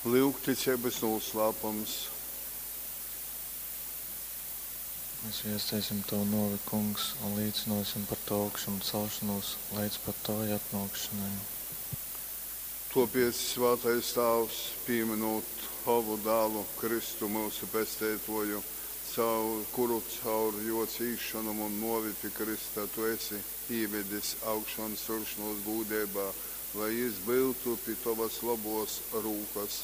Lyugticeibys nūslāpums. Mēs viesteisim Tavu nōvi, Kungs, un līcynōsim par Tavu augšamcelšonūs leidz pat Tavai atnōkšanai. Tuopiec, svātais Tāvs, pīmynūt Tovu Dālu, Kristu, myusu Pesteituoju, caur kuru caur juo cīsšonom un nuovi pi krysta tu esi īvedis augšonceļšonuos gūdeibā, lai jis byutu pi tovas lobuos rūkas,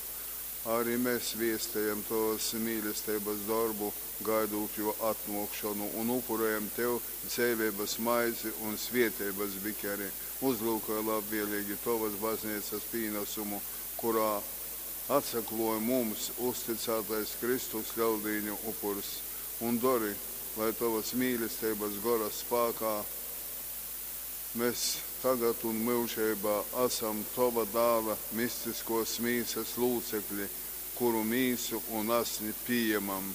ari mes viestejam tovas mīlesteibas dorbu, gaidūt juo atnuokšonu, un upurejam tev dzeiveibas maizi un svieteibas bikeri. Uzlyukoj labvieleigi tovas bazneicas pīnasumu, kurā atsakluoj mums uztycātais Kristus Leldīņu upurs, un dori, lai tovas mīlesteibas Gora spākā mes tagad un myužeibā asam tova Dāla mistiskuos mīsas lūcekli, kuru mīsu un asni pījamam.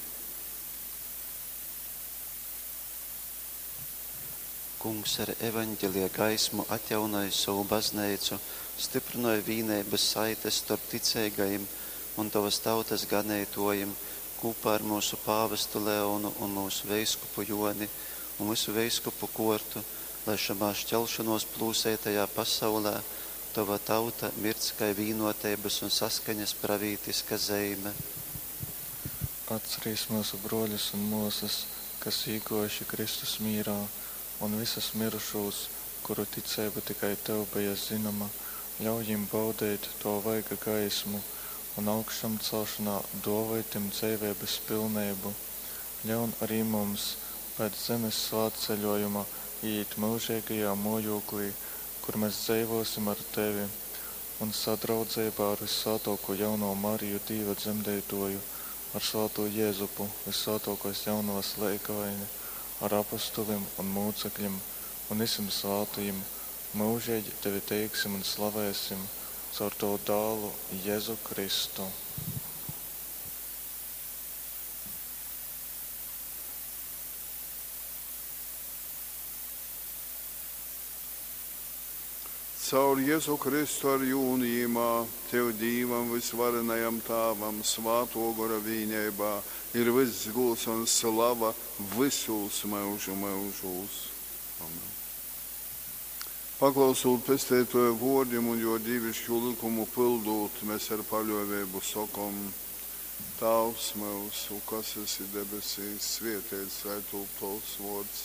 Kungs ar Evaņgelija gaismu atjaunoj sovu Bazneicu, styprynoj vīneibas saites storp ticeigajim un tovas tautas ganeitōjim, kūpā ar myusu pāvestu Leonu un myusu veiskupu Jōni un vysu veiskupu kōrtu, lai šamā šķelšonōs plūseitajā pasaulē tova tauta mirdz kai vīnōteibas un saskaņas pravītiska zeime. Atcerīs myusu brōļus un mōsas, kas īgōjuši Kristus mīrā, un vysus myrušūs, kuru ticeiba tikai tev beja zynoma, ļauj jim baudeit tova vaiga gaismu un augšamcelšonā dōvoj tim dzeiveibas pilneibu. Ļaun ari mums pēc zemes svātceļōjuma īīt myužeigajā mōjūklī, kur mes dzeivōsim ar tevi un sadraudzeibā ar vyssvātōkū jaunovu Mariju Dīva dzemdeitōju, ar svātū Jezupu, vyssvātōkōs jaunovas leigavaini, ar apostolim un mūcekļim un vysim svātajim, myužeigi tevi teiksim un slavēsim caur tovu Dālu Jezu Kristu. Caur Jezu Kristu ar jū un jimā, tev Dīvam vysvarenajam Tāvam, Svātuo Gora vīneibā ir vyss gūds un slava vysūs myužu myužūs. Amen. Paklausūt Pesteituoja vuordim un juo dīviškū lykumu pyldūt, mes ar paļuoveibu sokom: Tāvs myusu, kas esi debesīs, svieteits lai tūp tovs vuords,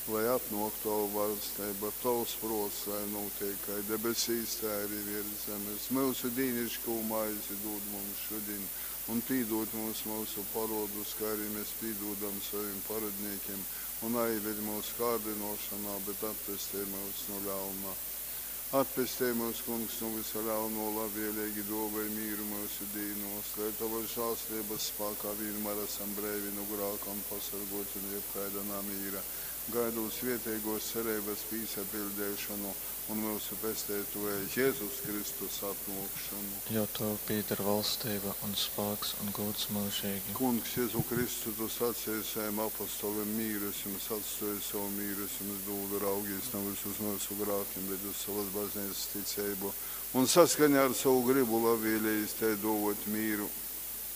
lai atnuok tova vaļsteiba, tovs pruots lai nūteik kai debesīs, tai ari viers zemes. Myusu dīniškū maizi dūd mums šudiņ, un pīdūd mums myusu poruodus, kai ari mes pīdūdam sovim porodnīkim, un naīved myusu kārdynuošonā, bet atpestej myus nu ļauna. Atpestej myus, Kungs, nu vysa ļaunuo, labvieleigi duovoj mīru myusu dīnuos, lai tovas žālsirdzeibas spākā vīnmār asam breivi nu grāka un pasorguoti nu jebkaida namīra, gaidūt svieteiguos cereibys pīsapiļdeišonu un myusu Pesteituoja Jezus Kristus atnuokšonu. Jo tev pīder valstība un spāks un gūds myužīgi. Kungs, Jezu Kristu, tu saceji savim apostolim, mīru es jums atstuoju, sovu mīru es jums dūdu, raugīs navys uz myusu grākim, bet uz sovas bazneicas ticeibu, un saskaņā ar sovu grybu labvielējis tai duovuot mīru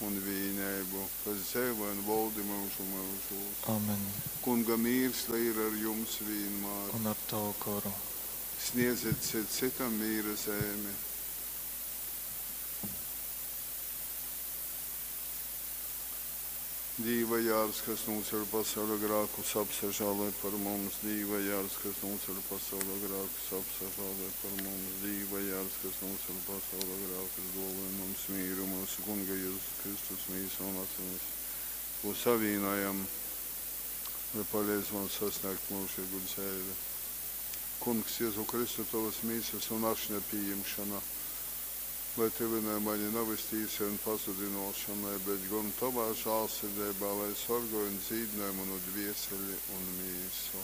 un vīneibu, kas dzeivoj un voldi myužu myužūs. Amen. Kunga mīrs lai ir ar jums vīnmār. Un ar tavu goru. Sniedzit cyts cytam mīra zeimi. Dīva jārs, kas nūceļ pasauļa grākus, apsažāloj par mums. Dīva jārs, kas nūceļ pasauļa grākus, apsažāloj par mums. Dīva jārs, kas nūceļ pasauļa grākus, duovoj mums mīru, myusu Kunga Jezus Kristus mīsa un asinis, kū savīnojam, lai paleidz mums sasniegt myužīgu dzeivi. Kungs, Jezu Kristu, tovas mīsas un ašņa pījimšona, lai tyvynoj mani navys tīsai un pazudynuošonai, bet gon tovā žālsirdeibā, lai sorgoj un dzīdynoj munu dvieseli un mīsu.